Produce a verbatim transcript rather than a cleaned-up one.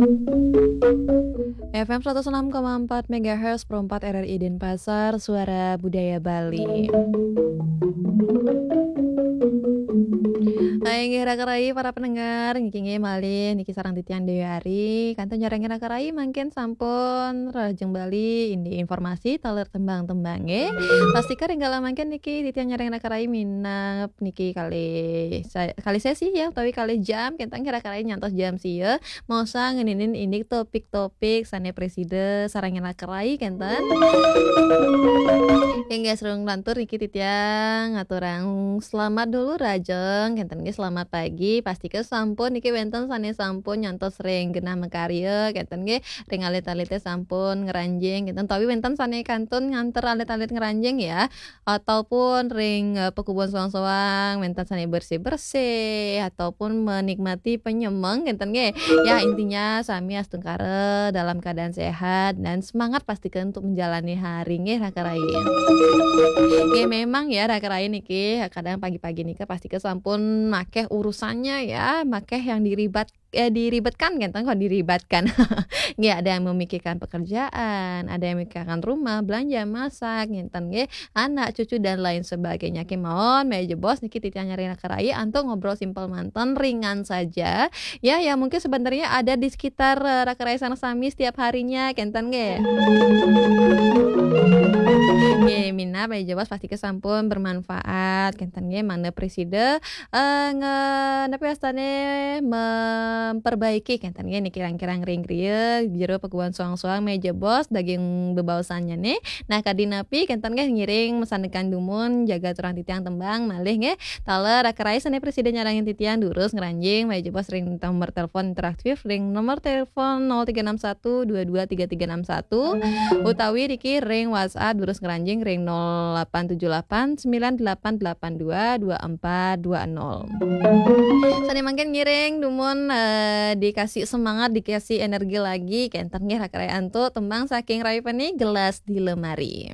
F M seratus enam koma empat megahertz, Pro empat R R I Denpasar, Suara Budaya Bali. Hai, inggih raka rai para pendengar, niki inggih malih niki sareng titiang Dewi Ari. Kantun nyarengin raka rai mangkin sampun rajeng Bali, indik informasi taler tembang-tembang nggih. Pastika ring kala mangkin niki titiang nyarengin raka rai minab niki kalih sa-, kalih sesi ya, utawi kalih jam, kenten nggih raka rai nyantos jam sia. Mosa ngeninin indik topik-topik sane presida sarengin raka rai kenten. Inggih, sareng lantur niki titiang ngaturang selamat dulu rajeng kenten nggih, selamat pagi. Pastika sampun niki wenten sane sampun nyantos ring genah makarya kenten nggih, ring alit-alite sampun ngranjing kenten, utawi wenten sane kantun nganter alit-alit ngranjing ya, ataupun ring, eh, pekubuhan soang-soang wenten sane bersih-bersih ataupun menikmati penyemeng kenten nggih. Ya, intinya sami astungkara dalam keadaan sehat dan semangat pastika untuk menjalani hari nggih raka rai. Nggih, memang ya raka rai niki kadang pagi-pagi nika pastika sampun makeh urusannya ya, makeh yang diribat eh, diribetkan kenten, kok diribatkan. Nggih, ada yang memikirkan pekerjaan, ada yang memikirkan rumah, belanja, masak, ngenten nggih, anak, cucu dan lain sebagainya. Kemawon, menawi jebos niki titiang nyarengin raka rai antuk ngobrol simpel manten, ringan saja. Ya, ya mungkin sebenarnya ada di sekitar, eh, raka rai sareng sami setiap harinya kenten nggih. Nggih, minab menawi jebos pastika sampun bermanfaat kenten nggih, mangda presida eh, nge-, napi wastane memperbaiki kenten nggih niki kirang-kirang ring griya jero pekubuhan soang-soang menawi jebos daging bebaosannya nih. Nah, kadi napi kenten nggih ngiring masandekan dumun jaga turang titiang tembang malih nggih. Taler raka rai sane presida nyarengin titiang durus ngranjing menawi jebos ring nomor telepon interaktif ring nomor telepon nol tiga enam satu dua dua tiga tiga enam satu utawi niki ring WhatsApp durus ngranjing ring nol delapan tujuh delapan sembilan delapan delapan dua dua empat dua nol. Sane mangkin ngiring dumun, eh, dikasih semangat, dikasih energi lagi kenten nggih raka rai antuk tembang saking Rai Peni, Gelas di Lemari.